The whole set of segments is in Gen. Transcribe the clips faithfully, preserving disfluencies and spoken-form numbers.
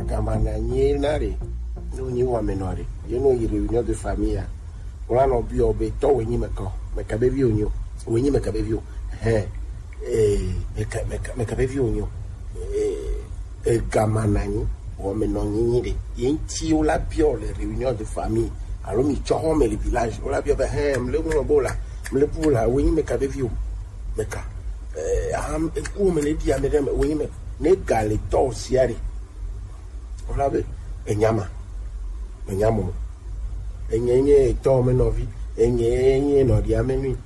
Gama na nyi na re, no nyi wa me no re. Ye no yi réunion de famille ya. Wala no bi obe to we nyi me ko. Me ka be vi o nyo. We nyi me ka be vi o. He. Eh, me ka, me ka, me ka be vi o nyo. Eh, eh, gama na nyi. Wo me no nyi nyi de. Ye nti wo la bi o le réunion de famille. Alo mi cho ho me le village. Wo la bi o be he, me le mo bo la. Me le bu la, we nyi me ka be vi o. Me ka. Eh, am, e ku me le bi a me de, we nyi me. Ne ga le to si a re. Wala be, enyama. Enyamo. Enye nye etɔ me nɔvi. Enye nye nɔɖi ame nyui.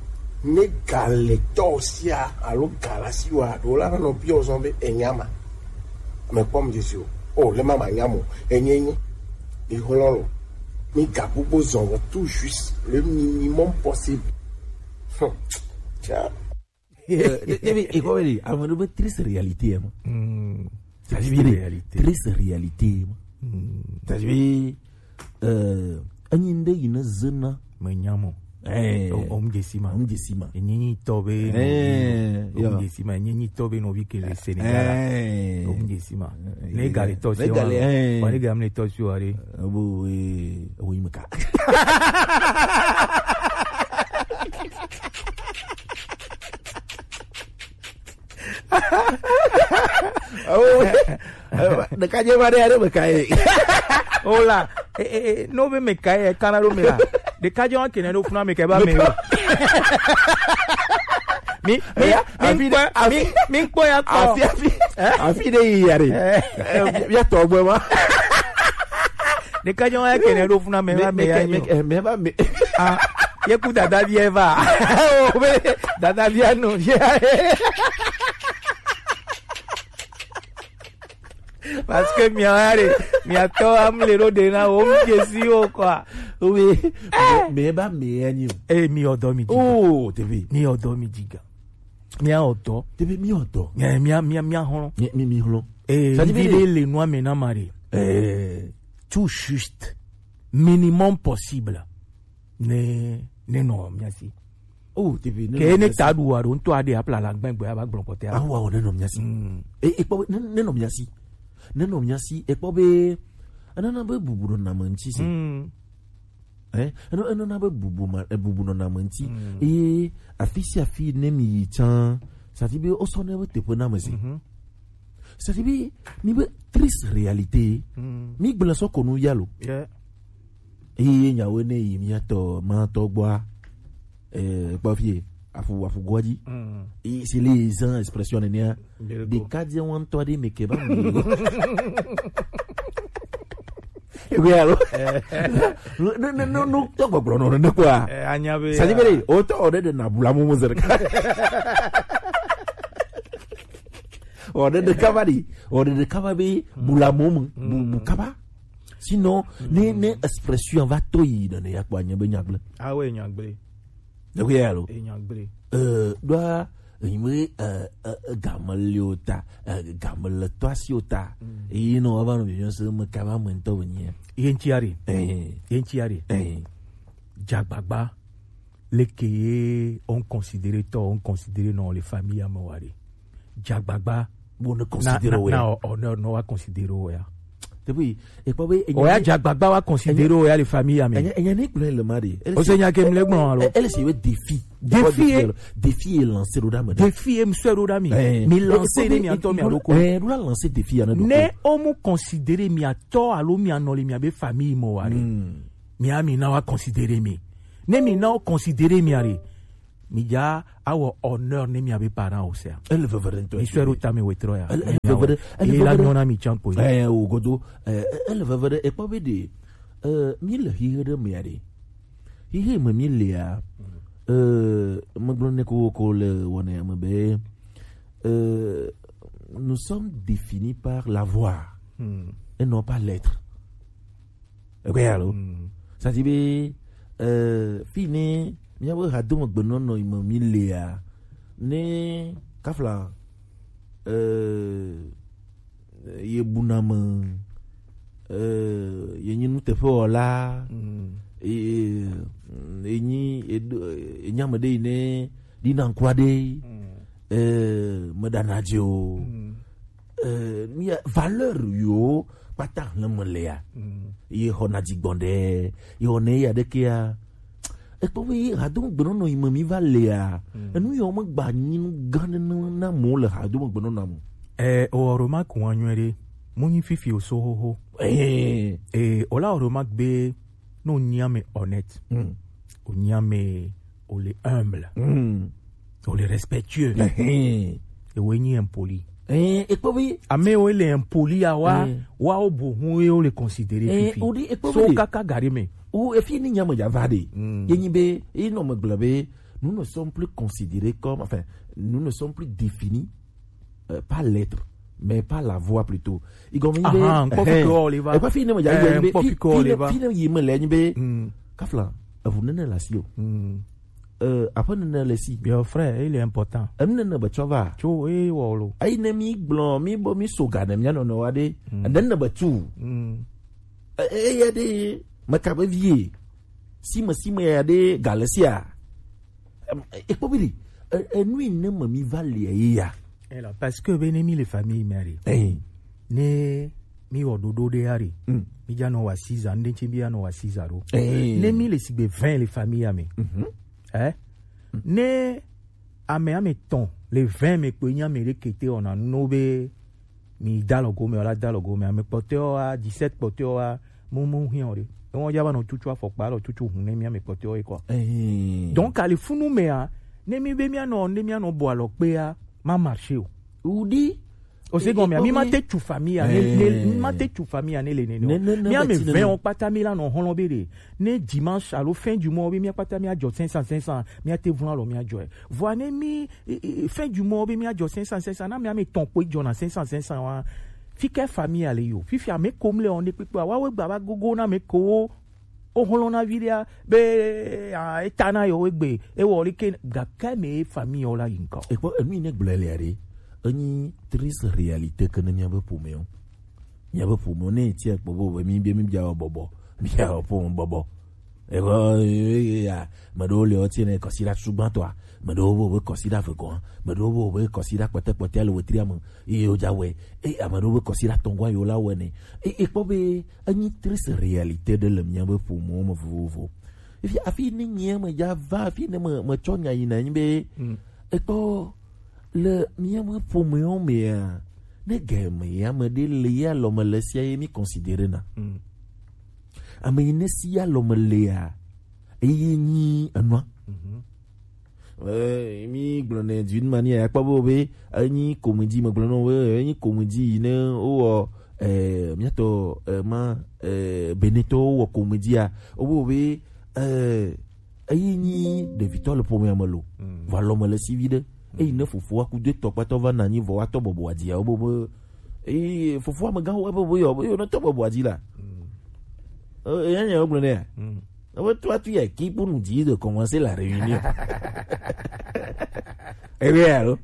Ne ga le tɔ sia alo ga la si wa ɖo la nɔ bi ozɔn be enyama. Me kpɔm dzesi o. O le mama nyamo. Enye nye. Mi hlɔ lo. Mi ga gbogbo zɔn wɔ tout juste le minimum possible. Hmm. Tiens. Ebi ikɔ wele ame ɖe be triste réalité ma. Hmm. Triste Triste réalité. Triste réalité ma. C'est-à-dire euh enyi nde yi ne zena. Me nyamo. Eh. O- Om jesima. Om jesima. Enyi tɔ be. Eh, Om yo. Jesima. Enyi tɔ be no vi ke le Sénégal. Eh. Om jesima. Eh, Ne ga le tɔ si ne ga le, eh. Wa ne ga me le tɔ si wa re. Abo we we meka. Oh, eh, ɖeka dze va ɖe aɖe me ka ye. O la, eh, eh, eh, no be me ka ye kana do me la. De ka jo ke ne do funa me ke ba me o. Mi mi Eh, mi afi kpɔ afi mi mi kpɔ ya kpɔ. Afi afi afi ɖe yi ya ɖe. Eh, ya tɔ gbɔ ma. De ka jo ke ne do funa me ba me ya nyo. Me ba me. Ah, ye ku dada vie va. O be dada vie no vie. Parce que mi are mi atɔ am le ro de na o mi si o quoi. Oui. Me ba me ya nyo. Eh, mi odo mi jiga. Oh, T V. Mi odo mi jiga. Mi a odo. T V mi odo. Eh, mi a mi a mi a hɔn. Mi mi mi hlo. Eh, Ça dit mi bien. le le noir maintenant mari. Eh. Tout juste. Minimum possible. Ne ne no mi asi. Oh, T V. Ke ne ta du wa do nto ade apla la gbegbe aba gblɔ kɔtɛ. Awa o ne no mi asi. Mm. E e kpɔ ne ne no mi asi. Ne no mi asi e kpɔ be enana be bubu nɔ na me ŋuti si. Mm. Eh, eno eno na be bubu ma e bubu nɔ na me ŋuti. Eye afi sia afi ne mi yi tsã, sati be o sɔ ne be teƒe na me si. Mhm. Sati be mi be triste réalité. Mm. Mi gblẽ sɔ ko nu ya lo. Yeah. Eye nyawo ne yi miatɔ matɔ gbɔa, eh, kpɔ fie afu afu gɔdzi. Mm. Eye si le zan expression nenia. Belgo. Ɖeka dze wɔn tɔ ɖe me ke ba mi. Ewɛ alo. No no no no tɔ gbɔgblɔ nɔ ne kɔa. Eh, anya be. Sadi bele o tɔ ɔɖe ɖe na bula mumu zerika. Ɔɖe ɖe kaba ɖi ɔɖe ɖe kaba be bula mumu bu bu kaba. Sinon ne ne expression va to yi ɖe ne yakpɔ anya be nyagblẽ. Awe nyagblẽ. Ewɛ alo. E nyagblẽ. Eh, ɖoa enyi be eh, eh, eh, game le o ta eh, game le tɔ asi o ta. Eyi nɔ ava nɔ bibiɔ se me kaba me ŋutɔ be nyia. Ye ŋuti are. Eh, Ye ŋuti are. eh. Dzagbagba. Leke ye on considérer tɔ on considérer non le famille ame wa re. Dzagbagba. Bo ne Na considérer na o ya. na o ne wa considérer o ya. Depuis ekpɔ be O ya dzagbagba wa considérer o ya le famille ame. Enya enya ne gblẽ le ma de. O se nya ke mle gbɔn alo. Elle c'est le défi. Défi, Défi eh. Défi est lancé ɖo ɖa me. Défi e msɔ ɖo ɖa mi. Eh, Mi lancer eh, ne mi atɔ mi eh, aloko. Eh, ɖo la lancer défi ya ne do. Ne o mu considérer mi atɔ alo mi anɔ le mi abe famille mo wa re. Hmm. Mi a mi na wa considérer mi. Ne mi na o considérer mi are. Mi ja awɔ honneur ne mi abe parent o sea. Elle veut vraiment toi. Mi sɔ ɖo ta mi wetrɔ ya. Elle elle veut vraiment. Elle E veut la vraiment. Nyɔna mi tsan po. Eh, o godo. Eh, elle veut vraiment. Ekpɔ be de. Eh, mi le hihe ɖe me ya de. Hihe me mi le ya. Eh, me gblɔ ne ko ko le wɔna ya me be. Eh, nous sommes définis par la voix Hmm. et non pas l'être. Ekpɔ ya lo. Hmm. Ça dit be euh fini mi a ha do me gbe nɔnɔ me mi le ya. Ne kafla euh ye buna me euh ye nyi nuteƒewɔla. Hmm. Ye ye nyi ye do- ye nyi ame ɖe yi ne ɖina ŋkua ɖe. Hmm. Euh me ɖana dzi o. Hmm. Euh, mia valeur yo kpata hlɛnmɛ lea, ye xɔ na dzigbɔn ɖe, ye xɔ ne ya ɖe kea, ekpɔ be hadomegbɛnɔnɔ yi me mi va lea, enu yawo me gba nyi nu gã ɖe na, na mo le hadomegbɛnɔnɔ me. Eh, o ɔrɔ ma kun anyuɛ ɖe, mo nyi fifi o so xoxo. Eh, eh, o la ɔrɔ ma gbe, no nyi ame honnête. Mm. O nyi ame, o le humble. Mm. O le respectueux. Ehe. Ewo nyi impoli. Eh, ekpɔ be. Ame wo le impoli ya wa, eh, wa o bo hun ye o le considérer, eh, fifi. O di ekpɔ so be. Kaka gari me. O efi ni nyame ja va de. Mm. Ye nyi be, e nɔ me gblɔ be, nous ne sommes plus considérés comme, enfin, nous ne sommes plus définis, euh, par l'être, mais par la voix plutôt. Igɔme nyi be, ahan, nkpɔ fi ke o le va. Ekpɔ fi ne me ja yi be, fi ne yi me le nyi be, kafla, evu nene la si o. Euh, aƒe nene le si. Your friend, il est important. Enu nene be tsɔ va. Tso, eh, wɔ lo. Ayi ne mi gblɔ, mi bo, mi so ga ne mia nɔnɔ wa ɖe. Ene nene be tu. Eh, eh, ya ɖe, me ka be vie. Si me, si me ya ɖe, ga le sia. Em, ekpɔ be ɖe, e, enu yi ne me mi va le ye ya. Ela, parce que be ne mi le famille me ɖe. Eh. Ne mi wɔ ɖoɖo ɖe ya ɖe. Mm. Mi ja nɔ wa six ans, ne tsi mi ya nɔ wa six ans ɖo. Eh. Ne mi le sigbe vingt le famille ya me. Mhm. Eh? Ne ame ame tɔn le vingt me kpo nyi ame ɖe kete ɔna no be mi da lɔ gome, wala da lɔ gome, ame kpɔtɔewo wa, dix-sept kpɔtɔewo wa, mu, mu hiã o ɖe. Ewo ja va nɔ tutu afɔkpa, lɔ tutu hun ne mi ame kpɔtɔewo ye kɔ. Eh. Donc, ali funu mea, ne mi be mi anɔ, ne mi anɔ bɔ alɔ kpea, ma marché o. Udi. O se gɔmea, mi ma te tu famille ya, ne, ne, mi ma te tu famille ya, ne le nene o. Ne, ne, ne, mi ame vingt o kpata mi la nɔ hɔlɔ be ɖe. Ne dimanche alo fin du mois, be mi kpata mi ajɔ cinq cents, cinq cents, mi ate vun alɔ mi ajɔ. Vɔa ne mi, e, e, fin du mois be mi ajɔ cinq cents, cinq cents, na mi ame tɔn kpo jɔ na cinq cents, cinq cents wa. Fi ke famille ya le yo. Fifi ame kom le on de kpekpe. Wa we gba va gogo na me ko. O holo na vi dia be, a, eta na yo we gbe. E wo le ke ga ke me famille o la yin ko. Ekpɔ enu yi ne gblɔ le are. Enyi triste réalité ke ne mia be ƒome o. Mia be ƒome o ne ti ekpɔ bo be mi be mi bia bɔbɔ. Mia ƒome bɔbɔ. Ewɔ, e, e, ya, ame ɖewo le wo tiɛ ne kɔsiɖa sugbãtɔa, ame ɖewo be wobe kɔsiɖa vegɔa, ame ɖewo be wobe kɔsiɖa kpɔtɛkpɔtɛ le wetria me, eye wodza wɔe. Eye ame ɖewo be kɔsiɖa tɔngɔa yewo la wɔe nɛ. E, ekpɔ be enyi triste réalité ɖe le míabe ƒomewo me vovovo. Efi, afi ne nyea medza va, afi ne me, metsɔ nya yina nyi be, ekpɔ le míabe ƒomewo mea, ne game ya me ɖe le ya lɔ me le sia ye mi considérer na. Ame yi ne si ya lɔ me lea, eye nyi enua. Eh, mi gblɔ ne d'une manière, akpɔ be, be, enyi comédie, me gblɔ na wo be, enyi comédie yi ne wowɔ, eh, míatɔ, eh, ma, eh, Benetɔwo wɔ comédie a, wo be, eh, eyi nyi ɖevitɔ le ƒomea me lo. Vɔ alɔ me le si vi ɖe. Eyi ne fofoa ku de tɔ kpatɔ va na anyi vɔ wa tɔ bɔbɔa dzi a, wo be, be, eyi fofoa me gã wo be, be yɔ, be yɔ ne tɔ bɔbɔa dzi la. Eh, eya nya wo gblɔ nɛ ya. Ebe toi tu es qui pour nous dire de commencer la réunion? Eh bien, allô?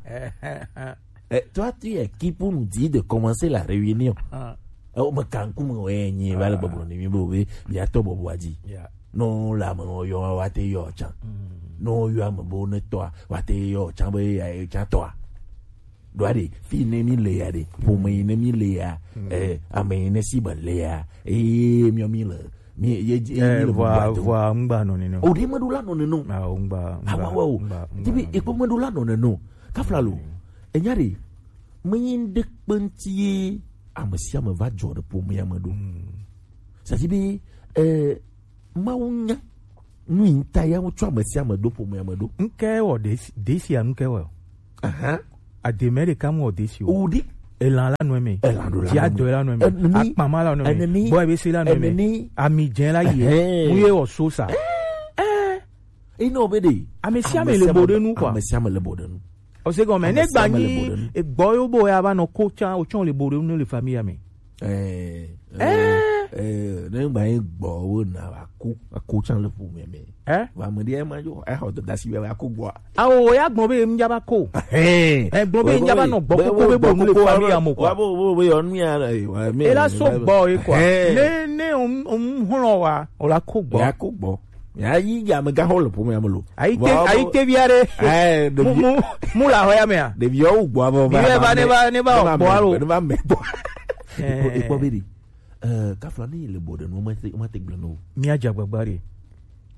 Eh, toi tu es qui pour nous dire de commencer la réunion? Oh, me kanku me we nyi va le bɔbɔ ni mi bo be bia tɔ bɔbɔ adzi. No la me wo yɔ wa te yɔ tsan. No yɔ ame bo ne tɔa wa te yɔ tsan be ya tsan tɔa. Ɖoa ɖe, fi ne mi le ya ɖe, ƒome yi ne mi le ya, eh, ame yi ne si be le ya, eh, mi mi le, mi ye, ye, eh, mi le vɔa, vɔa ŋgba nɔ nene o. O ɖe meɖo la nɔ nene o. Ah, ŋgba, ŋgba, awa wa o. Ŋgba, ŋgba. Ti bi, ekpɔ meɖo la nɔ nene o. Kafla lo. Enya ɖe, me yi ŋɖe kpe ŋti ye, ame sia ame va dzɔ ɖe ƒomea me ɖo. Ça dit be, eh, Mawu nya nu yi ta ya ŋutsɔ ame sia ame ɖo ƒomea me ɖo. Ŋke wɔ ɖe si, ɖe sia ŋke wɔ. Aha. Ademe ɖeka mu wɔ ɖe si o. O ɖi. Elan la nɔ eme. Elan ɖo la nɔ eme. Diadɔ la nɔ eme. Eneni. Akpama la nɔ eme. Eneni. Bɔ ebe se la nɔ eme. Eneni. Ami dze la yi. Ehɛn. Mu ye wɔ so sa. Eh. Ina o be de. Ame sia ame le bo ɖe nu, quoi. Ame sia ame le bo ɖe nu. O se gɔme, ne gba nyi egbɔ yo bo ya va nɔ ko tsa, o tsɔn le bo ɖe nu le famille me. Eh, eh, ne gba nyi gbɔ wo na va ko, ko tsa le ƒome me. Eh? Va me ɖe ma yo, eh, o da si va ko gbɔ. Awo, ya gbɔ be mi ja va ko. Eh, gbɔ be mi ja va nɔ gbɔ ko be bo nu le famille mo, quoi. Wa bo, bo, bo yo nu ya, eh, wa me. E la so gbɔ e, quoi. Ne, ne o, o hlɔ wa, o la ko gbɔ. Ya ko gbɔ. Ya yi ya me ga xɔ le ƒome ya me lo. Ayi te, ayi te via ɖe. Eh, mu, mu, mu la xɔ ya mea. Ɖeviwo gbɔ avɔ va. Ne va, ne va, ne va gbɔ alo. Ne va me gbɔ. Eh. Ekpɔ be ɖi. Eh, kafla ni le bɔ ɖe nu ma te, ma te gblẽ no. Mía dze agbagba ɖe.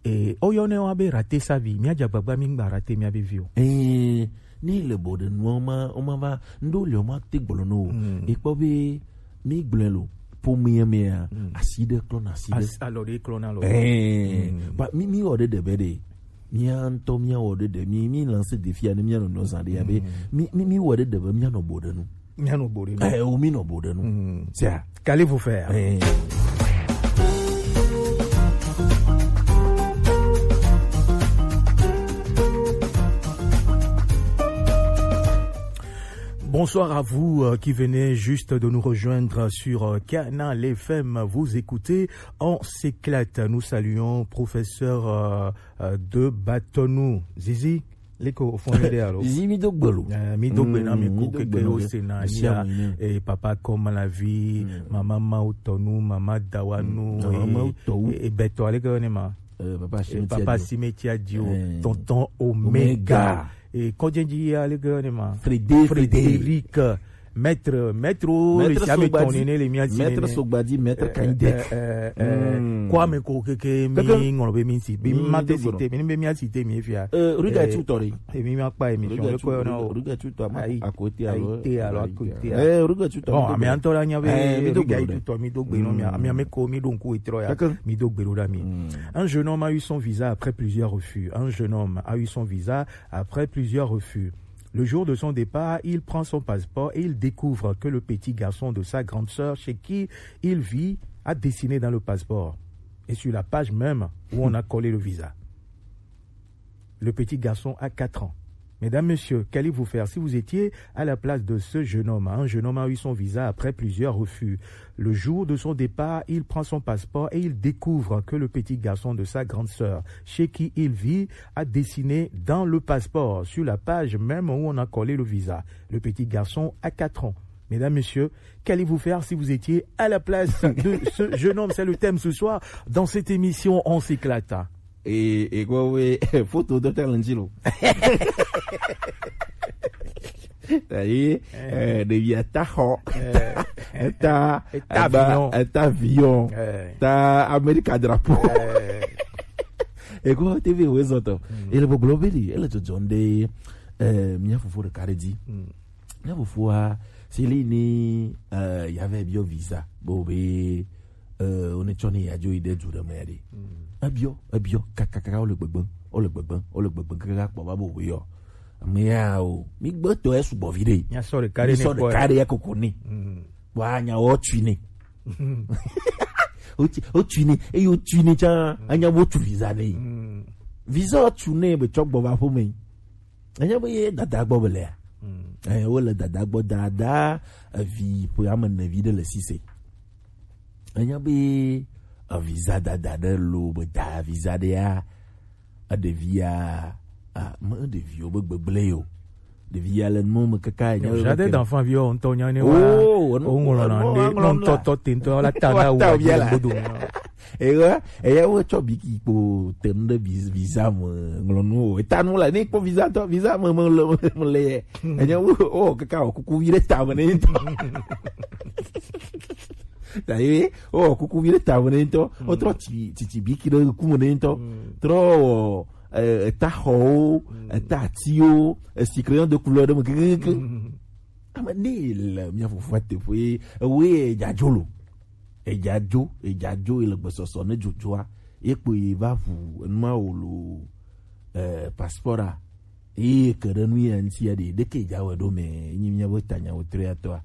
Eh, oyɔ ne wa be rate sa vi. Mía dze agbagba mi gba rate mía be vi o. Eh, ni le bɔ ɖe nu ma, o ma va, ndo le o ma te gblẽ no. Mm. E kpɔ be mi gblẽ lo, po mi ya mi ya, mm, asi ɖe klɔ na asi ɖe. As-, alɔ ɖe klɔ na alɔ. Eh, mm, ba, mi, mi wɔ ɖe ɖe be ɖe. Mía ŋutɔ mía wɔ ɖe ɖe. Mi, mi lance défi ya ne mía nɔ nɔ zã ɖe ya be. Mm. Mi, mi, mi wɔ ɖe ɖe be mía nɔ bɔ ɖe nu. Mía nɔ bɔ ɖe nu. Eh, o mi nɔ bɔ ɖe nu. Mm. Sia. Qu'allez-vous faire ? Eh. Bonsoir à vous, euh, qui venez juste de nous rejoindre sur, euh, Canal F M. Vous écoutez On s'éclate. Nous saluons professeur, euh, euh, de Batonou. Zizi, liko ofon ede alo. Zizi mi do gbelo. Eh, mi do gbe na mi, mm, ko mi do keke gbelo o de. Se na nia, eh, papa comme la vie, mm, maman Mautonu, maman Dawanu, mm, maman Mautou. Eh, eh, Beto, aleke ne ma. Eh, papa, eh, Cimetière papa Dio. Cimetière Dio, eh, tonton Omega. Omega. Eh, Kodjenji, aleke ne ma. Frédé, Frédé. Frédéric. Maître, maître, o, maître le sia me Sogbadi, tɔn ne le mia ti maître ne. Sogbadi, maître, eh, Kande. Eh, eh, eh, hmm. Kwame ko keke mi. Keke. Ŋlɔ be mi si. Bi hmm, ma te si te, mi be mi si te mi fia. Eh, Ruga, eh, tu tori. E mi ma pa émission. Ruga le tu, ko na o. Ruga tu to ma. Ayi. À côté alors. Ayi te alors, à côté. Eh, Ruga tu to. Bon, mais en tout cas, il y avait, eh, mi do Ruga gbelo de. Tu to, mi do gbe no, mi a, mi a me ko, mi do nku etro ya. Keke. Mi do gbelo da mi. Hmm. Un jeune homme a eu son visa après plusieurs refus. Un jeune homme a eu son visa après plusieurs refus. Le jour de son départ, il prend son passeport et il découvre que le petit garçon de sa grande sœur, chez qui il vit, a dessiné dans le passeport et sur la page même où on a collé le visa. Le petit garçon a quatre ans. Mesdames, Messieurs, qu'allez-vous faire si vous étiez à la place de ce jeune homme ? Un jeune homme a eu son visa après plusieurs refus. Le jour de son départ, il prend son passeport et il découvre que le petit garçon de sa grande sœur, chez qui il vit, a dessiné dans le passeport, sur la page même où on a collé le visa. Le petit garçon a quatre ans. Mesdames, Messieurs, qu'allez-vous faire si vous étiez à la place de ce jeune homme ? C'est le thème ce soir dans cette émission On s'éclate. Et, et quoi, oui, photo de Talentilo. Ayi, eh, ɖevia ta xɔ, eh, ta, eh, ta aba, avion, eh, ta Amerika drapeau. Eh. Ego T V wo ezɔ tɔ. Mm. Ele gbɔgblɔ be li, ele dzɔdzɔm ɖe, eh, mía fofo ɖeka ɖe dzi. Mm. Mía fofoa, si li ni, eh, ya vɛ biɔ visa, bo be, eh, wo ne tsɔ ne ya dzo yi ɖe du ɖe me ya ɖe. Mm. Ebiɔ, ebiɔ, kakakaka, wo le gbegbe, wo le gbegbe, wo le gbegbe, kaka kpɔ va bo be yɔ. Ame ya o, mi gbetɔ esu gbɔ vi ɖe. Mía sɔ ɖeka ɖe ne kpɔ ɖeka ɖe ya koko ne. Mm. Wa nya wo tsui ne. Wotsi-, wotsui nɛ, eye wotsui nɛ tsã, anya be wotu visa nɛ. Mm. Visa wotu nɛ be tsɔ gbɔ va ƒome. Anya be ye dada gbɔ be lea. Mm. Eh, wole dada gbɔ, dada, evi ƒe ame ene vi ɖe le sise. Anya be, eh, visa dada ɖe lo be da visa ɖea, eɖevia, ah, me ɖeviwo be gbegblẽ yo. Ɖevia le nuwo me kaka. Jardin d'enfant viwo ŋutɔ nya ne wa. Oh, o ŋlɔ na ɖe, ŋlɔ ŋutɔ tɔ te ŋutɔ la ta na wo ta bia la. Godo. Eya, eya wo tsɔ biki kpo te nu ɖe vis-, visa me ŋlɔ nu o. Eta nu la, ne kpɔ visa tɔ, visa me, me le, me le. Enya wo, o kaka o kuku vi ɖe ta me ne ŋutɔ. Ta ye, o kuku vi ɖe ta me ne ŋutɔ. O trɔ tsi, tsi, tsi biki ɖe ku me ne ŋutɔ. Mm. Trɔ wɔ, eh, eta xɔwo, mm, eta atiwo, esi crayon de couleur ɖe me kekeke. Mm. Ame ne le mía fofo teƒe, ewoe edza dzo lo. Edza dzo, edza dzo, ele gbesɔsɔ ne dzodzoa, ye kpo ye va ʋu enua wo lo, eh, passport a. Ye ke ɖe nu ya ŋuti ya ɖe, ɖeke edza wɔ ɖo me, enyi mía be tanya wotro ya tɔa.